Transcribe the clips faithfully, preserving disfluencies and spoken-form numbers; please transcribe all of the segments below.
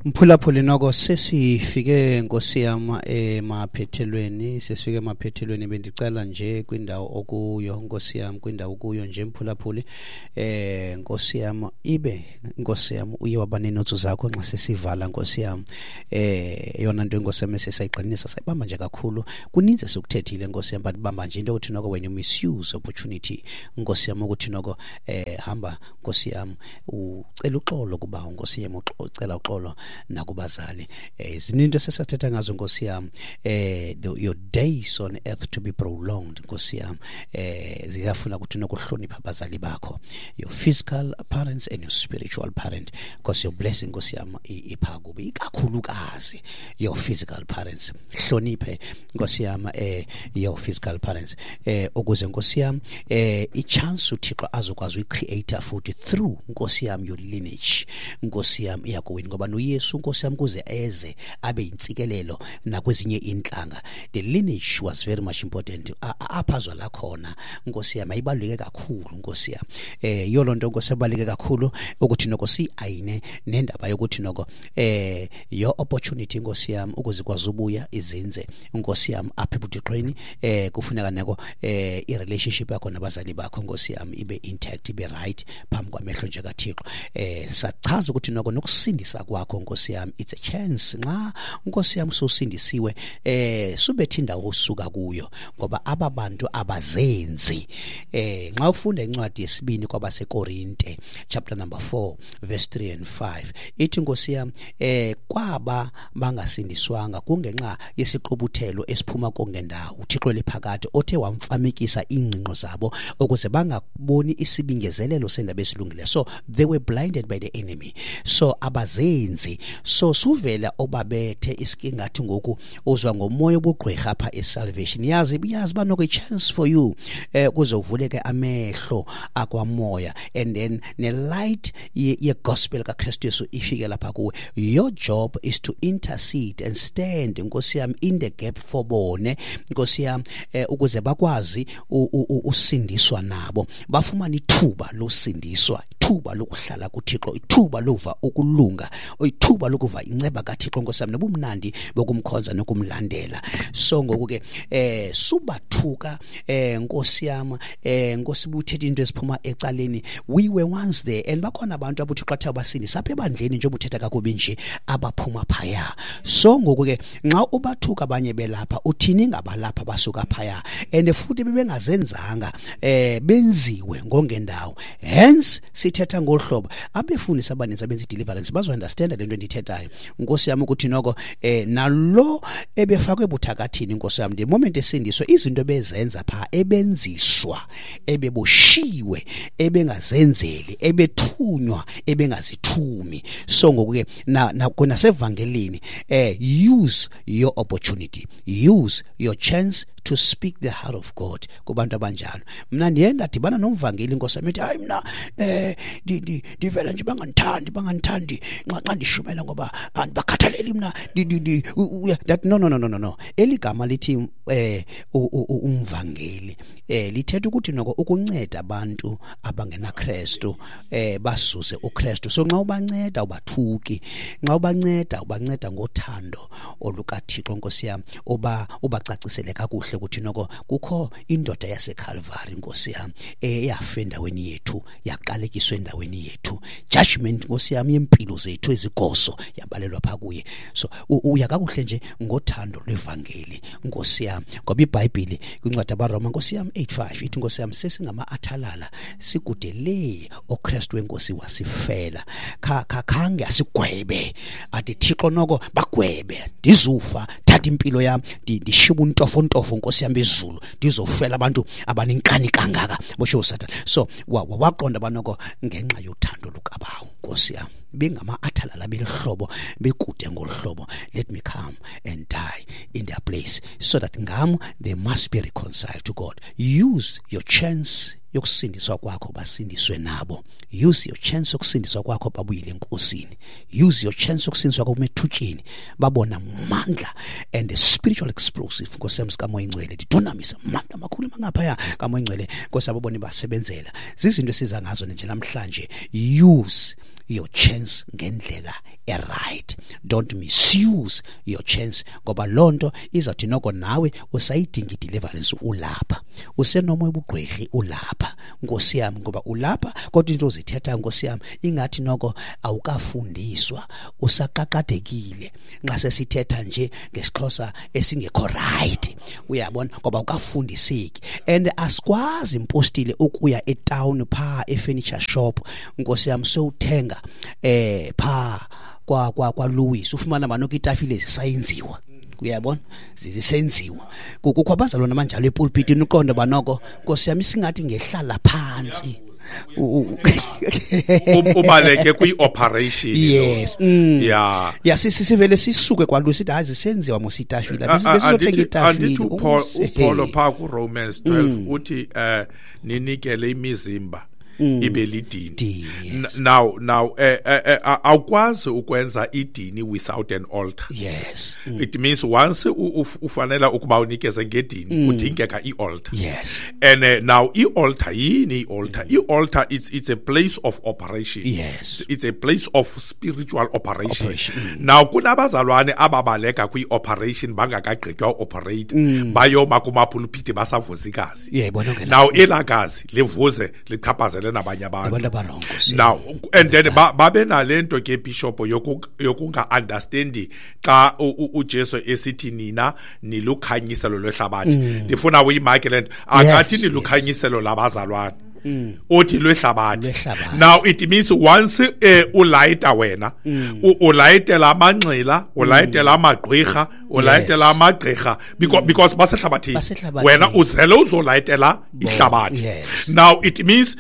Mphulaphuli, noko sesifike, nkosi yam, emaphethelweni, sesifike emaphethelweni. Bendicela nje kwindawo okuyo, nkosi yam, kwindawo okuyo nje, mphulaphuli, eh nkosi yam, ibe, nkosi yam, uye waba neenotsu zakho nxa sesivala, nkosi yam. eh eyona nto, nkosi yam, esesayigxininisa, sayibamba nje kakhulu, kuninzi esikuthethile, nkosi yam, but bamba nje into yokuthi noko when you misuse opportunity, nkosi yam, ukuthi noko eh hamba, nkosi yam, ucela uxolo kuba, nkosi yam, ucela uxolo nakubazali. eh zininto esesathetha ngazo, nkosi yam. eh your days on earth to be prolonged, nkosi yam, eh ziyafuna ukuthi nokuhlonipha abazali bakho, your physical parents and your spiritual parent, because your blessing, nkosi yam, ipha kubi, ikakhulukazi your physical parents. Hloniphe, nkosi yam, eh your physical parents, eh ukuze, nkosi yam, eh i-chance uThixo azokwazi uyi-create futhi through, nkosi yam, your lineage, nkosi yam, iyakowini, ngoba noYesu, nkosi yam, kuze eze abe yintsikelelo nakwezinye intlanga, the lineage was very much important. Apha azwala khona, nkosi yam, ayibaluleke kakhulu, nkosi yam. eh yiyo loo nto, nkosi, ebaluleke kakhulu ukuthi noko si-ayine nendaba yokuthi noko eh your opportunity, nkosi yam, ukuze ikwazi ubuya izinze, nkosi yam, apha ebuthixweni, eh kufuneka nako eh i-relationship yakho nabazali bakho, nkosi yam, ibe intact, ibe right phambi kwamehlo nje kaThixo. eh sachaza ukuthi noko nokusindisa kwakho, nkosi yam, it's a chance. Nxa, nkosi yam, sosindisiwe, eh subethe indawo osuka kuyo, ngoba aba bantu abazenzi. eh nxa ufunda incwadi yesibini kwabaseKorinte, chapter number four, verse three and five, ithi, nkosi yam, eh kwaba bangasindiswanga kungenxa yesiqubuthelo esiphuma kongendawo, uThixo lephakade othe wamfamekisa ingcinqo zabo ukuze bangaboni isibingezelelo sendaba esilungileyo. So they were blinded by the enemy, so abazenzi. So suvela obabethe isikingathi ngoku uzwa ngomoya obugqwirha apha e-salvation. Yazi, yazi banoko i-chance for you eh kuze uvuleke amehlo akwamoya and then ne-light ye-gospel kaKristu Yesu ifike lapha kuwe. Your job is to intercede and stand, nkosi yami, in the gap for bone, nkosi yami, eh, ukuze bakwazi usindiswa nabo, bafumane ithuba losindiswa, ithuba lokuhlala kuThixo, ithuba lova ukulunga, ithuba lokuva inceba kaThixo, nkosi yami, nobumnandi bokumkhonza nokumlandela. So ngoku ke eh subathuka, eh nkosi yami, eh nkosi, buthethe into esiphuma ecaleni. We were once there, and bakhona abantu abuThixo athe abasindisa apha ebandleni, njengoba uthetha kakubi nje, abaphuma phaya. So ngoku ke nxa ubathuka abanye belapha, uthini ngabalapha basuka phaya? And futhi bebengazenzanga, eh benziwe ngongendawo. Hence sithetha ngohlobo abefundisi abaninzi abenza deliverance bazo understand le nto endithethayo, nkosi yami, ukuthi noko eh nalo ebefakwe ebuthakathini, nkosi yami, the moment esindiswa, izinto ebezenza pha, ebenziswa, ebeboshiwe, ebengazenzeli, ebethunywa, ebengazithumi. So ngoku ke na nasevangelini, eh use your opportunity, use your chance to speak the heart of God kubantu abanjalo. Mina ndiye ndadibana nomvangeli, nkosi yami, ethi, "Hayi, mina eh ndivela nje bangandithandi, bangandithandi nxa xa ndishumela ngoba andibakhathaleli mina." That no, no, no, no, no, no. Eligama lithi eh umvangeli eh lithetha ukuthi noko ukunceda abantu abangenaKristu eh basuze uKristu. So nxa ubanceda, ubathuki. Nxa ubanceda, ubanceda ngothando olukaThixo, nkosi yami, uba ubacacisele kakuhle ukuthi noko kukho indoda yaseCalvary, nkosi yami, eyafa endaweni yethu, yaqalekiswa endaweni yethu, judgment, nkosi yami, yempilo zethu ezigoso yabalelwa pha kuye. So uya kakuhle nje ngothando lwevangeli, nkosi yami, ngoba iBhayibheli kwincwadi abaRoma, nkosi yami, eight five ithi, nkosi yami, sesingama-athalala, sikude le, oKristu wenkosi wasifela. Khange asigwebe, athi Thixo noko bagwebe, ndizufa, thatha impilo yami, ndishiba untofontofo, nkosi yami, bezulu, ndizofela abantu abanenkani kangaka, bosho uSathane. So waqonda banoko ngenxa yothando lukabawo, nkosi yami, bengama-athalala, belihlobo, bekude ngolu hlobo, let me come and die in their place so that ngam they must be reconciled to God. Use your chance yokusindiswa kwakho, basindiswe nabo. Use your chance yokusindiswa kwakho, babuyile enkosini. Use your chance yokusindiswa kwakho emethutsheni, babona amandla and the spiritual explosive, nkosi yami, sikaMoya Ingcwele, dunamis, amandla amakhulu mangaphaya kaMoya Ingcwele, nkosi, ababone basebenzela. Zizinto esiza ngazo nje namhlanje. Use your chance ngendlela e-right. Don't misuse your chance, ngoba loo nto izawuthi noko nawe usayidinga i-deliverance ulapha, usenomoya ubugqwirhi ulapha, Nkosi yam, ngoba ulapha kodwa into ozithetha, Nkosi yam, ingathi noko awukafundiswa, usaqaqadekile nxa sesithetha nje ngesiXhosa esingekho right, uyabona, ngoba awukafundiseki. And asikwazi impostile ukuya etown pha e-furniture shop, Nkosi yam, sewuthenga eh pha kwa kwa kwa Louis, ufumana manoko itafile zisayenziwa, uyabona, zisenziwa. Kukho abazalwana manjalo epulpitini, uqonde banoko, Nkosi yami, singathi ngehlala phansi ubaleke kwi-operation. Yes. Mm. Yeah. Yeah, sisivele sisuke kwaLouis sithi hayi zisenziwa mos itafile, besizothenga itafile. Andithi uPaul uPaul pha ku Romans twelve uthi eh ninikele imizimba ibe lidini. Now now eh awukwazi ukwenza idini without an altar. Yes. Mm. It means once ufanele ukuba unikeze ngedini kudingeka i-altar. Yes. And uh, now i-altar yini i-altar? I-altar it's it's a place of operation. Yes. It's a place of spiritual operation. operation. Mm. Now kunabazalwane ababaleka kwi-operation bangakagqitywa operate bayoma kumapulpiti basavuza igazi. Yeah, now elagazi livuze lichaphazele nabanye abantu. Now and then babe nalento ke bishop yokunga understandi xa uJesu esithi nina nilukhanyiselo lwehlabathi. Ndifuna uyimake lento, akathi nilukhanyiselo labazalwane, uthi lwehlabathi. Now it means once eh, ulayita wena, ulayitela amanxila, ulayitela amagqirha, ulayitela amagqirha, because because basehlabathini, wena uzele uzolayitela ihlabathi. Now it means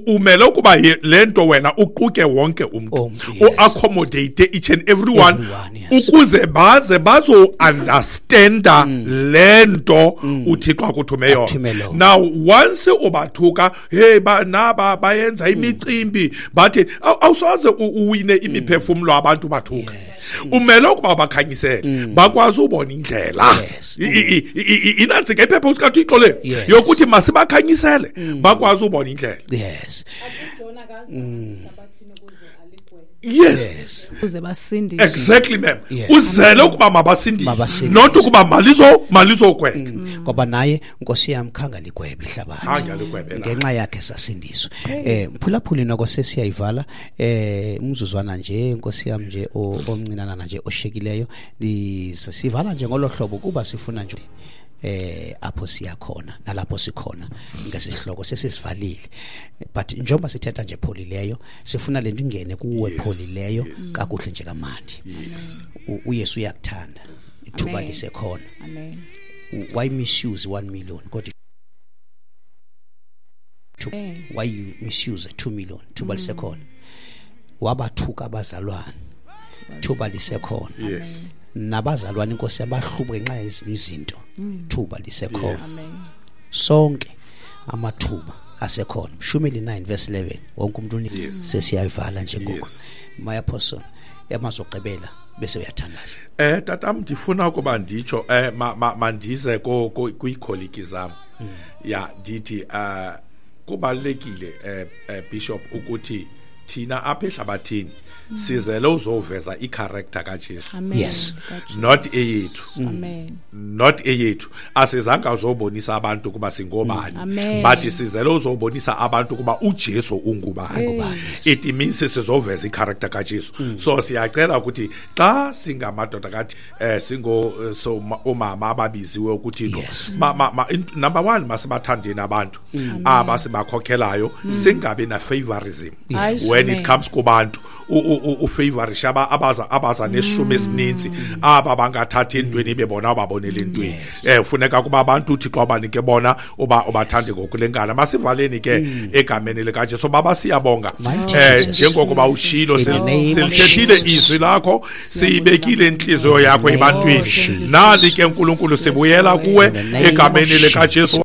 umele ukuba lento wena uquke wonke umuntu, uaccommodate each and everyone, ukuze baze bazo understanda lento uThixo akuthume yona. Now once ubathuka, hey ba naba bayenza imicimbi bathi awusoze uwine imiphefumulo abantu bathuka, umele ukuba bakhanyisele bakwazi ubona indlela. Inansi ke iphepha uSikaThixo le yokuthi masibakhanyisele bakwazi ubona indlela. Yes. Yes. Uze basindiswe. Exactly, ma'am. Uzele ukuba mabasindiswe, not ukuba malizo malizogwetha. Ngoba naye Nkosi yami khanga ligwebe ihlabathi. Ngenxa yakhe sasindiswa. Eh mphulaphuli noko sesiyayivala eh umzuzwana nje Nkosi yami nje omncinana nje oshekileyo, sivala nje ngolohlobo kuba sifuna nje eh apho siyakhona nalapho sikhona ngesihloko sesisivalile, but njengoba sithetha nje pholileyo sifuna lento ingene kuwe pholileyo kakuhle nje kamandi. uYesu uyakuthanda, ithuba lisekhona. Amen. Why misuse one million kodwa why you misuse two million? Thuba lisekhona. Wabathuka abazalwane, thuba lisekhona. Yes. Nabazalwane inkosi yabahlubuka ngenxa yezinye izinto, thuba lisekhona. Sonke amathuba asekhona. Mshumeli nine verse eleven, wonke umuntu sesiyayivala nje ngoku. My apostle yamazogqibela bese uyathandaza. Eh tatam ndifuna ukuba nditsho eh mandize kwiikholiki zam. Ya ndithi eh kubalekile eh Bishop ukuthi thina apha ehlabathini sizele uzoveza i-character kaJesu. Yes. Not eyethu. Amen. Not eyethu. Asizange uzobonisa abantu kuba singobani, but sizele uzobonisa abantu kuba uJesu ungubani. It means sizoveza i-character kaJesu. So siyacela ukuthi xa singamadoda kathi eh singo so omama ababiziwe ukuthi ma, ma, number one masibathandeni abantu abasibakhokhelayo, singabe na favorism when it comes kubantu. Ufavorisha abaza abaza neshumi esininzi aba bangathatha intweni bebona ababonele intweni. Eh ufuneka kuba abantu uThixo abanike bona uba ubathande ngokulengana. Masivaleni ke egameni likaJesu. Baba siyabonga eh njengokuba ushilo silithethile izwi lakho, siyibekile inhliziyo yakho ebantwini. Nali ke uNkulunkulu sibuyela kuwe egameni likaJesu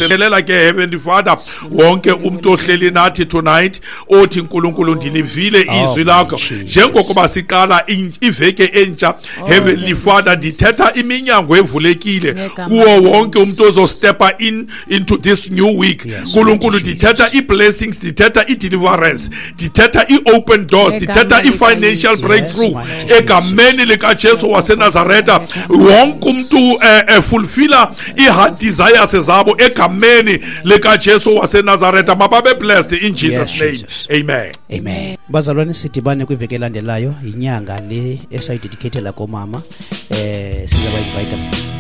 Waselela ke, Heavenly Father, wonke umuntu ohleli nathi tonight othi, "Nkulunkulu, ndilivile Oh, izwi lakho." Jesus. Njengokuba siqala in- iveke entsha, Heavenly Father, ndithetha iminyango evulekile Ngegama kuwo wonke umuntu ozostepa in into this new week. Yes, Nkulunkulu, Lord Jesus. ndithetha i-blessings, ndithetha i-deliverance, ndithetha i-open doors, Ngegama ndithetha i-financial likaYesu. breakthrough Yes, mighty egameni likaJesu waseNazareta. Wonke umuntu eh, eh, fulfilla i-heart desires zabo egameni likaJesu waseNazareta. Mababe blessed in Jesus' Yes, name. Jesus. Amen. Amen. Bazalwane, sidibane kwiveki elandelayo. Yinyanga le esayidedicatela komama. eh sizaba invite.